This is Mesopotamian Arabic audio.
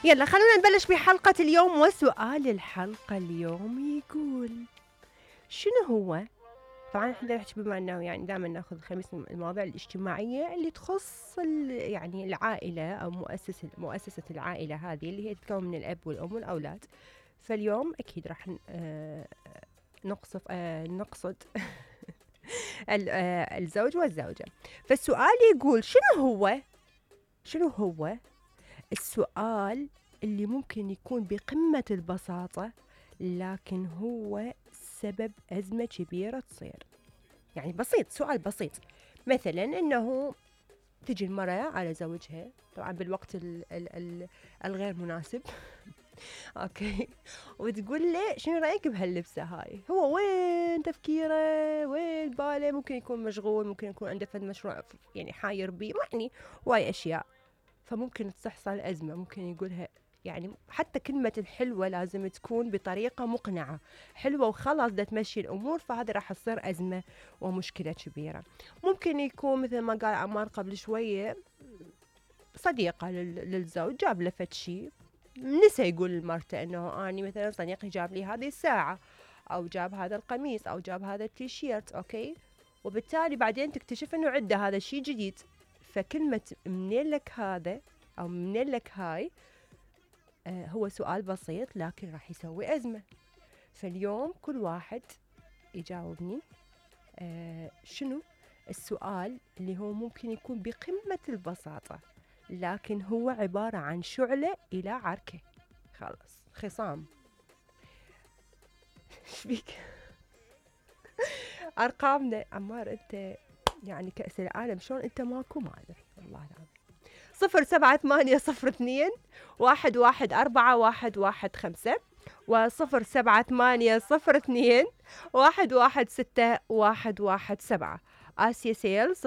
يلا خلونا نبلش بحلقة اليوم. وسؤال الحلقة اليوم يقول شنو هو؟ طبعا احنا نحكي بما انه يعني دائما ناخذ الخميس المواضيع الاجتماعية اللي تخص يعني العائلة او مؤسسة العائلة هذه اللي هي تتكون من الاب والام والاولاد. فاليوم اكيد راح نقصد الزوج والزوجة. فالسؤال يقول شنو هو السؤال اللي ممكن يكون بقمة البساطة لكن هو سبب أزمة كبيرة تصير. يعني بسيط، سؤال بسيط، مثلا إنه تجي المرأة على زوجها طبعا بالوقت الغير مناسب أوكي، وتقول له شنو رأيك بهاللبسة هاي؟ هو وين تفكيره، وين باله، ممكن يكون مشغول، ممكن يكون عنده فد مشروع يعني حاير بيه، يعني واي أشياء. فممكن تحصل أزمة، ممكن يقولها يعني حتى كلمة الحلوة لازم تكون بطريقة مقنعة، حلوة وخلاص دا تمشي الأمور، فهذا راح تصير أزمة ومشكلة كبيرة. ممكن يكون مثل ما قال عمار قبل شوية، صديقة للزوج جاب له فد شي، نسى يقول لمرته انه اني مثلا صديقي جاب لي هذه الساعة او جاب هذا القميص او جاب هذا التيشيرت، اوكي، وبالتالي بعدين تكتشف انه عنده هذا الشي جديد. فكلمة منين لك هذا أو منين لك هاي هو سؤال بسيط لكن راح يسوي أزمة. فاليوم كل واحد يجاوبني شنو السؤال اللي هو ممكن يكون بقمة البساطة لكن هو عبارة عن شعلة إلى عركة، خلاص خصام. شبيك أرقامنا عمار أنت يعني كأس العالم شلون أنت ماكو ما أدري والله العظيم. 078002114115 و07802116 آسيا سيل 077021141115.